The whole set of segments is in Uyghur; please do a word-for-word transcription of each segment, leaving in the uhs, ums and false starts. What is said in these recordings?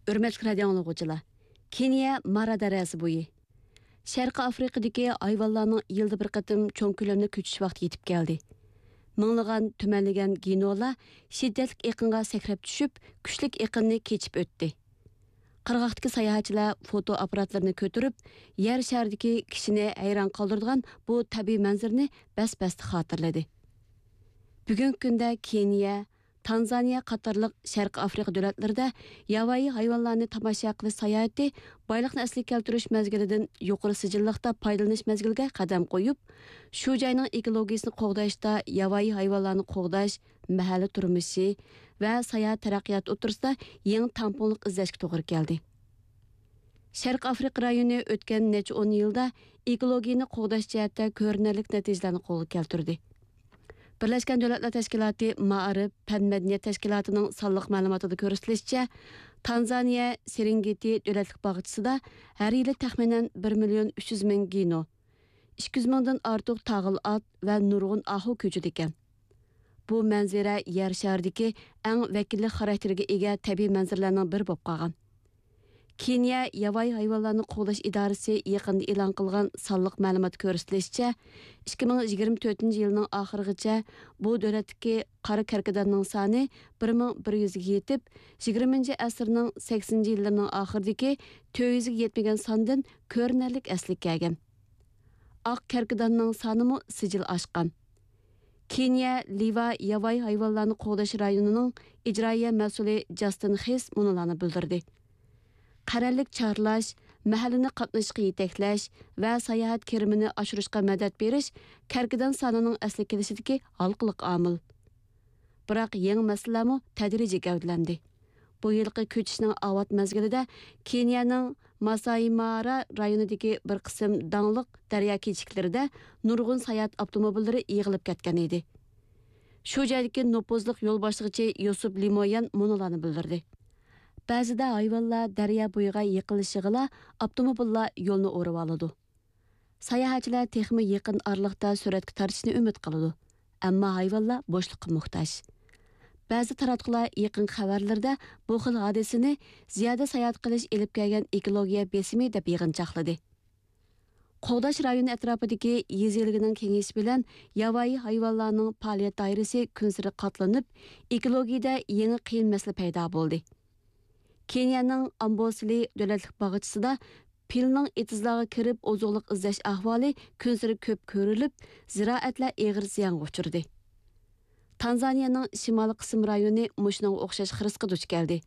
ھۆرمەتلىك رادىئو ئاڭلىغۇچىلار، كېنىيە مارا دەرياسى بويى. شەرقىي ئافرىقىدىكى ھايۋانلارنىڭ يىلدا بىر قېتىم چوڭ كۆلەملىك كۆچۈش ۋاقتى يېتىپ كەلدى. مىڭلىغان تۈمەنلىگەن گىنولار شىددەتلىك ئېقىنغا سەكرەپ چۈشۈپ، كۈچلۈك ئېقىننى كېچىپ ئۆتتى. قىرغاقتىكى ساياھەتچىلەر فوتو ئاپپاراتلىرىنى كۆتۈرۈپ، يەر شارىدىكى كىشىنى ھەيران قالدۇرىدىغان بۇ تەبىئىي مەنزىرىنى بەس-بەستە خاتىرىلىدى. بۈگۈنكى كۈندە كېنىيە، تانزانىيە قاتارلىق شەرقىي ئافرىقا دۆلەتلىرىدە ياۋايى ھايۋانلارنى تاماشا قىلىش ساياھىتى بايلىقنى ئەسلىگە كەلتۈرۈش مەزگىلىدىن يۇقىرى سىجىللىقتا پايدىلىنىش مەزگىلىگە قەدەم قويۇپ، شۇ جاينىڭ ئېكولوگىيىسىنى قوغداشتا ياۋايى ھايۋانلارنى قوغداش، مەھەللە تۇرمۇشى ۋە ساياھەت تەرەققىياتى ئوتتۇرىسىدا يېڭى تەڭپۇڭلۇق ئىزدەشكە توغرا كەلدى. شەرقىي ئافرىقا رايونى ئۆتكەن نەچچە ئون يىلدا ئېكولوگىيەنى قوغداش جەھەتتە كۆرۈنەرلىك نەتىجىلەرنى قولغا كەلتۈردى. بىرلەشكەن دۆلەتلەر تەشكىلاتى مائارىپ، پەن، مەدەنىيەت تەشكىلاتىنىڭ سانلىق مەلۇماتىدا كۆرسىتىلىشىچە، تانزانىيە سېرېنگېتى دۆلەتلىك باغچىسىدا ھەر يىلى تەخمىنەن بىر مىليون ئۈچ يۈز مىڭ گىنو، ئىككى يۈز مىڭدىن ئارتۇق تاغىل ئات ۋە نۇرغۇن ئاھۇ كۆچىدىكەن. بۇ مەنزىرە يەر شارىدىكى ئەڭ ۋەكىللىك خاراكتېرىگە ئىگە تەبىئىي مەنزىرىلەرنىڭ بىرى بولۇپ قالغان. كېنىيە ياۋايى ھايۋانلارنى قوغداش ئىدارىسى يېقىندا ئېلان قىلغان سانلىق مەلۇماتتا كۆرسىتىلىشىچە، ئىككى مىڭ يىگىرمە تۆتىنچى يىلنىڭ ئاخىرىغىچە بۇ دۆلەتتىكى قارا كەركىداننىڭ سانى بىر مىڭ بىر يۈزگە يېتىپ، يىگىرمىنچى ئەسىرنىڭ سەكسىنىنچى يىللىرىنىڭ ئاخىرىدىكى تۆت يۈزگە يەتمىگەن ساندىن كۆرۈنەرلىك ئەسلىگە كەلگەن. ئاق كەركىداننىڭ سانىمۇ سىجىل ئاشقان. كېنىيە لىۋا ياۋايى ھايۋانلارنى قوغداش رايونىنىڭ ئىجرائىيە مەسئۇلى جاستىن خىس مۇنۇلارنى بىلدۈردى: قەرەللىك چارلاش، مەھەللىنى قاتنىشىشقا يېتەكلەش ۋە ساياھەت كىرىمىنى ئاشۇرۇشقا مەدەت بېرىش كەركىدان سانىنىڭ ئەسلىگە كېلىشىدىكى ھالقىلىق ئامىل. بىراق يېڭى مەسىلىلەرمۇ تەدرىجىي گەۋدىلەندى. بۇ يىلقى كۆچۈشنىڭ ئاۋات مەزگىلىدە كېنىيەنىڭ ماسايمارا رايونىدىكى بىر قىسىم داڭلىق دەريا كېچىكلىرىدە نۇرغۇن ساياھەت ئاپتوموبىللىرى يىغىلىپ كەتكەن ئىدى. شۇ جايدىكى نوپۇزلۇق يول باشلىغۇچى يوسۇپ لىمويان مۇنۇلارنى بىلدۈردى: بەزىدە ھايۋانلار دەريا بويىغا يېقىنلىشىغىلا ئاپتوموبىللار يولنى ئورۇۋالىدۇ. ساياھەتچىلەر تېخىمۇ يېقىن ئارىلىقتا سۈرەتكە تارتىشنى ئۈمىد قىلىدۇ، ئەمما ھايۋانلار بوشلۇققا موھتاج. بەزى تاراتقۇلار يېقىنقى خەۋەرلىرىدە بۇ خىل ھادىسىنى زىيادە ساياھەت قىلىش ئېلىپ كەلگەن ئېكولوگىيە بېسىمى دەپ يىغىنچاقلىدى. قوغداش رايونى ئەتراپىدىكى يېزا ئىگىلىكىنىڭ كېڭىيىشى بىلەن ياۋايى ھايۋانلارنىڭ پائالىيەت دائىرىسى كۈنسېرى قاتلىنىپ، ئېكولوگىيىدە يېڭى قىيىن مەسىلە پەيدا بولدى. كېنىيەنىڭ ئامبوسلى دۆلەتلىك باغچىسىدا پىلنىڭ ئېتىزلارغا كىرىپ ئوزۇقلۇق ئىزدەش ئەھۋالى كۈنسېرى كۆپ كۆرۈلۈپ، زىرائەتلەر ئېغىر زىيانغا ئۇچرىدى. تانزانىيەنىڭ شىمالىي قىسىم رايونى مۇشۇنىڭغا ئوخشاش خىرىسقا دۇچ كەلدى.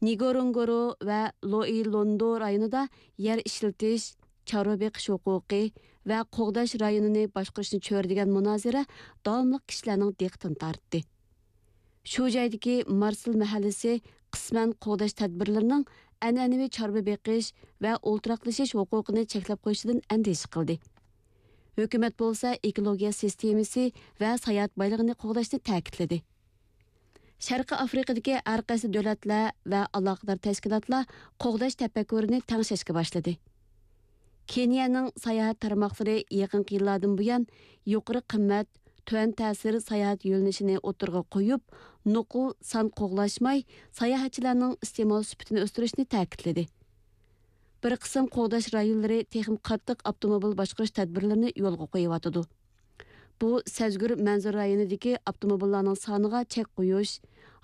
نىگورونگورو ۋە لوئىلوندو رايونىدا يەر ئىشلىتىش، چارۋا بېقىش ھوقۇقى ۋە قوغداش رايونىنى باشقۇرۇشنى چۆرىدىگەن مۇنازىرە داۋاملىق كىشىلەرنىڭ دىققىتىنى تارتتى. شۇ جايدىكى مارسېل مەھەللىسى قىسمەن قوغداش تەدبىرلىرىنىڭ ئەنئەنىۋى چارۋا بېقىش ۋە ئولتۇراقلىشىش ھوقۇقىنى چەكلەپ قويۇشىدىن ئەندىشە قىلدى. ھۆكۈمەت بولسا ئېكولوگىيە سىستېمىسى ۋە ساياھەت بايلىقىنى قوغداشنى تەكىتلىدى. شەرقىي ئافرىقىدىكى ھەر قايسى دۆلەتلەر ۋە ئالاقىدار تەشكىلاتلار قوغداش تەپەككۇرىنى تەڭشەشكە باشلىدى. كېنىيەنىڭ ساياھەت تارماقلىرى يېقىنقى يىللاردىن بۇيان يۇقىرى قىممەت، تۆۋەن تەسىر ساياھەت يۆنىلىشىنى ئوتتۇرىغا قويۇپ، نوقۇل سان قوغلاشماي، ساياھەتچىلەرنىڭ ئىستېمال سۈپىتىنى ئۆستۈرۈشنى تەكىتلىدى. بىر قىسىم قوغداش رايونلىرى تېخىمۇ قاتتىق ئاپتوموبىل باشقۇرۇش تەدبىرلىرىنى يولغا قويۇۋاتىدۇ. بۇ سەزگۈر مەنزىرە رايونىدىكى ئاپتوموبىللارنىڭ سانىغا چەك قويۇش،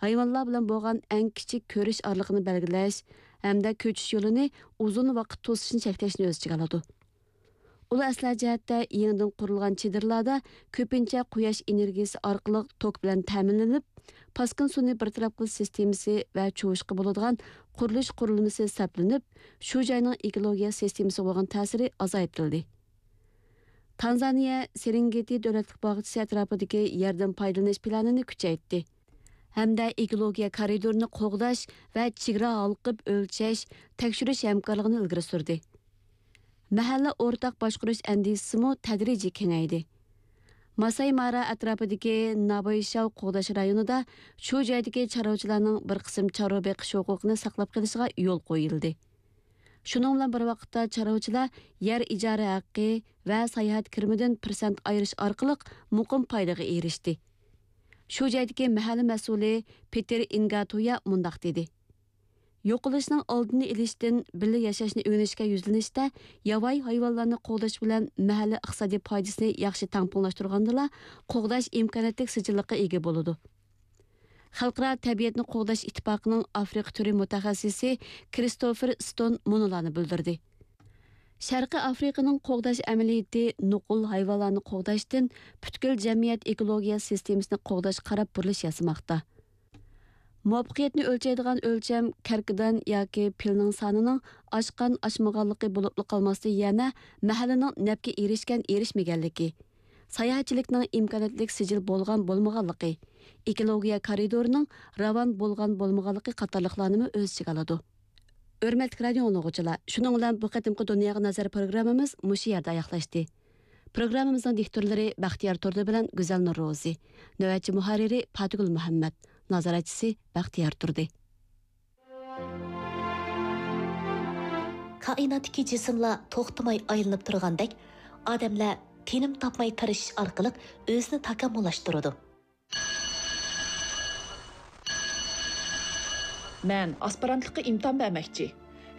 ھايۋانلار بىلەن بولغان ئەڭ كىچىك كۆرۈش ئارىلىقىنى بەلگىلەش ھەمدە كۆچۈش يولىنى ئۇزۇن ۋاقىت توسۇشنى چەكلەشنى ئۆز ئىچىگە ئالىدۇ. ئۇلار ئەسلىھە جەھەتتە يېڭىدىن قۇرۇلغان چېدىرلاردا كۆپىنچە قۇياش ئېنېرگىيىسى ئارقىلىق توك بىلەن تەمىنلىنىپ، پاسكىنا سۇنى بىر تەرەپ قىلىش سىستېمىسى ۋە چۇۋۇشقا بولىدىغان قۇرۇلۇش قۇرۇلمىسى سەپلىنىپ، شۇ جاينىڭ ئېكولوگىيە سىستېمىسىغا بولغان تەسىرى ئازايتىلدى. تانزانىيە سېرېنگېتى دۆلەتلىك باغچىسى ئەتراپىدىكى يەردىن پايدىلىنىش پىلانىنى كۈچەيتتى ھەمدە ئېكولوگىيە كارىدورىنى قوغداش ۋە چېگرا ھالقىپ ئۆلچەش، تەكشۈرۈش ھەمكارلىقىنى ئىلگىرى سۈردى. مەھەللە ئورتاق باشقۇرۇش ئەندىزىسىمۇ تەدرىجىي كېڭەيدى. ماساي مارا ئەتراپىدىكى نابايشاۋ قوغداش رايونىدا شۇ جايدىكى چارۋىچىلارنىڭ بىر قىسىم چارۋا بېقىش ھوقۇقىنى ساقلاپ قېلىشىغا يول قويۇلدى. شۇنىڭ بىلەن بىر ۋاقىتتا، چارۋىچىلار يەر ئىجارە ھەققى ۋە ساياھەت كىرىمىدىن پىرسەنت ئايرىش ئارقىلىق مۇقىم پايدىغا ئېرىشتى. شۇ جايدىكى مەھەللە مەسئۇلى پېتېر ئىنگاتۇيا مۇنداق دېدى: يوقىلىشنىڭ ئالدىنى ئېلىشتىن بىللە ياشاشنى ئۆگىنىشكە يۈزلىنىشتە ياۋايى ھايۋانلارنى قوغداش بىلەن مەھەللە ئىقتىسادىي پايدىسىنى ياخشى تەڭپۇڭلاشتۇرغاندىلا، قوغداش ئىمكانىيەتلىك سىجىللىققا ئىگە بولىدۇ. خەلقئارا تەبىئەتنى قوغداش ئىتتىپاقىنىڭ ئافرىقا تۈرى مۇتەخەسسىسى كرىستوفېر ستون مۇنۇلارنى بىلدۈردى. شەرقىي ئافرىقىنىڭ قوغداش ئەمەلىيىتى نوقۇل ھايۋانلارنى قوغداشتىن پۈتكۈل جەمئىيەت ئېكولوگىيە سىستېمىسىنى قوغداشقا قاراپ بۇرۇلۇش ياسىماقتا. مۇۋەپپەقىيەتنى ئۆلچەيدىغان ئۆلچەم كەركىدان ياكى پىلنىڭ سانىنىڭ ئاشقان-ئاشمىغانلىقى بولۇپلا قالماستىن، يەنە مەھەللىنىڭ نەپكە ئېرىشكەن-ئېرىشمىگەنلىكى، ساياھەتچىلىكنىڭ ئىمكانىيەتلىك سىجىل بولغان-بولمىغانلىقى، ئېكولوگىيە كارىدورىنىڭ راۋان بولغان-بولمىغانلىقى قاتارلىقلارنىمۇ ئۆز ئىچىگە ئالىدۇ. ھۆرمەتلىك رادىئو ئاڭلىغۇچىلار، شۇنىڭ بىلەن بۇ قېتىمقى دۇنياغا نەزەر پروگراممىمىز مۇشۇ يەردە ئاياغلاشتى. پروگراممىمىزنىڭ دىكتورلىرى بەختىيار تۇردى بىلەن گۈزەل نۇرروزى، نۆۋەتچى مۇھەررىرى پاتىگۈل مۇھەممەت، نازارەتچىسى بەختىيار تۇردى. كائىناتتىكى جىسىملار توختىماي ئايلىنىپ تۇرغاندەك، ئادەملەر تىنىم تاپماي تىرىشىش ئارقىلىق ئۆزىنى تاكامۇللاشتۇرىدۇ. مەن ئاسپىرانتلىققا ئىمتىھان بەرمەكچى.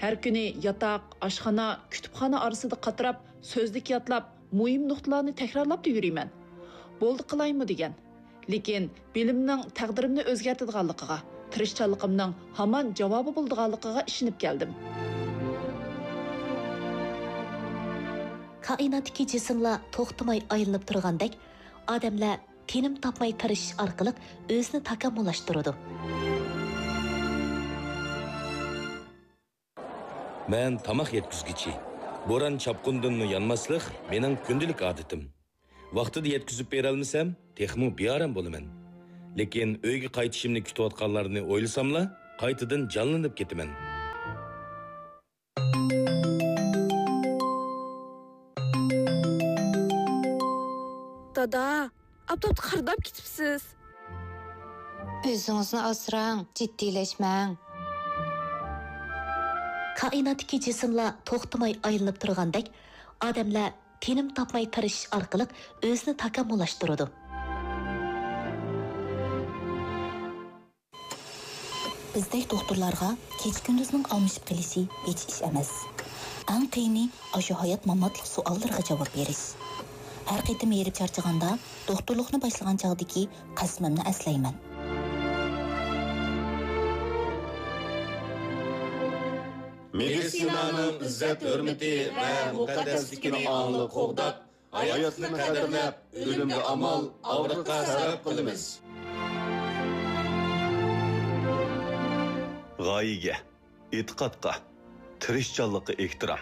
ھەر كۈنى ياتاق، ئاشخانا، كۇتۇپخانا ئارىسىدا قاتراپ، سۆزلۈك يادلاپ، مۇھىم نۇقتىلارنى تەكرارلاپلا يۈرىمەن. بولدى قىلايمۇ دېگەن. لېكىن بىلىمنىڭ تەقدىرىمنى ئۆزگەرتىدىغانلىقىغا، تىرىشچانلىقىمنىڭ ھامان جاۋابى بولىدىغانلىقىغا ئىشىنىپ كەلدىم. كائىناتتىكى جىسىملار توختىماي ئايلىنىپ تۇرغاندەك، ئادەملەر تىنىم تاپماي تىرىشىش ئارقىلىق ئۆزىنى تاكامۇللاشتۇرىدۇ. مەن تاماق يەتكۈزگۈچى. بوران چاپقۇندىنمۇ يانماسلىق مېنىڭ كۈندىلىك ئادىتىم. ۋاقتىدا يەتكۈزۈپ بېرەلمىسەم، تېخىمۇ بىئارام بولىمەن. لېكىن ئۆيگە قايتىشىمنى كۈتۈۋاتقانلارنى ئويلىساملا، قايتىدىن جانلىنىپ كېتىمەن. دادا، ئاپتاپتا قارىداپ كېتىپسىز. ئۆزىڭىزنى ئاسراڭ، جىددىيلەشمەڭ. كائىناتتىكى جىسىملار توختىماي ئايلىنىپ تۇرغاندەك، ئادەملەر تىنىم تاپماي تىرىشىش ئارقىلىق ئۆزىنى تاكامۇللاشتۇرىدۇ. بىزدەك دوختۇرلارغا كېچە-كۈندۈزنىڭ ئالمىشىپ قېلىشى ھېچ ئىش ئەمەس. ئەڭ قىيىنى ئاشۇ ھايات-ماماتلىق سوئاللىرىغا جاۋاب بېرىش. ھەر قېتىم ھېرىپ چارچىغاندا، دوختۇرلۇقنى باشلىغان چاغدىكى قەسىمىمنى ئەسلەيمەن. مېدىتسىنانىڭ ئىززەت-ھۆرمىتى ۋە مۇقەددەسلىكىنى ئاڭلىق قوغداپ، ھاياتنى قەدىرلەپ، ئۆلۈمگە ئامال، ئاغرىققا سەۋەب قىلىمىز. غايىگە، ئېتىقادقا، تىرىشچانلىققا ئېھتىرام.